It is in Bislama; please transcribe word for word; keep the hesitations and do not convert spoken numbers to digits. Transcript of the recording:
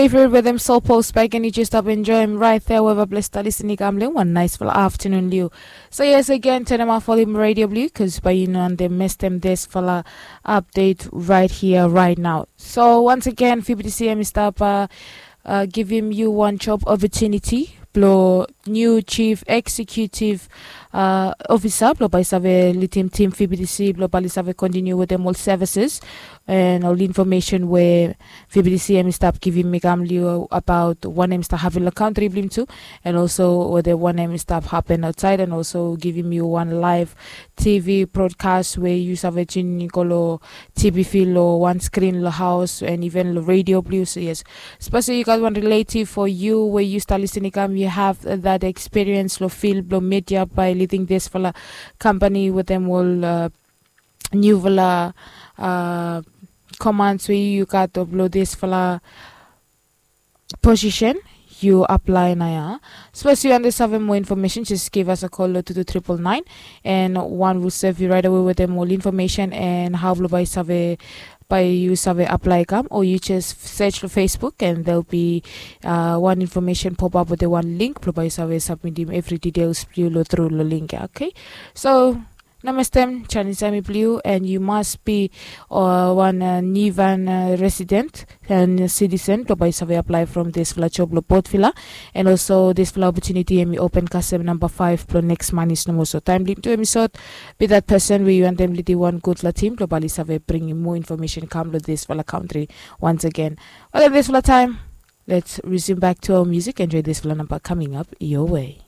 Favorite with them soul post back and you just stop enjoy him right there wherever bless tali sini kam lem one nice fala afternoon liu. So yes, again, turn them off volume radio blue because by you know and they mess them this fala update right here right now. So once again, F B T C M is stop uh, uh, give him you one job opportunity blo new chief executive uh, officer blo bai save lidim tim F B T C blo bai save continue with them all services and all information where F B T C M is stop giving me come liu about one name stop having the country blim too, and also where the one name stop happen outside and also giving you one live T V broadcast where you save tune in kolo T V feel or one screen lo house and even lo radio blue. So yes, especially you got one relative for you where you start listening come, you have that experience lo field lo media by leading this fala company with them all uh, new fala uh, commands where you got to blow this fala position you apply na ya. Suppose you understand more information, just give us a call to two triple nine, and one will serve you right away with them all information and how blo bai save by you save apply come, or you just search for Facebook and there'll be uh, one information pop up with the one link blo bai save submit him every details you lo through lo link. Okay, so Namaste, Chinese Army Blue, and you must be uh, one uh, Nivan uh, resident and citizen to by survey apply from this fla job lo boat fila. And also this fla opportunity and we open custom number five pro next month is no more so time lim to episode. Be that person where you and them lady one good la team to bali survey bringing more information come to this fla country once again. Well, this fla time, let's resume back to our music. Enjoy this fla number coming up your way.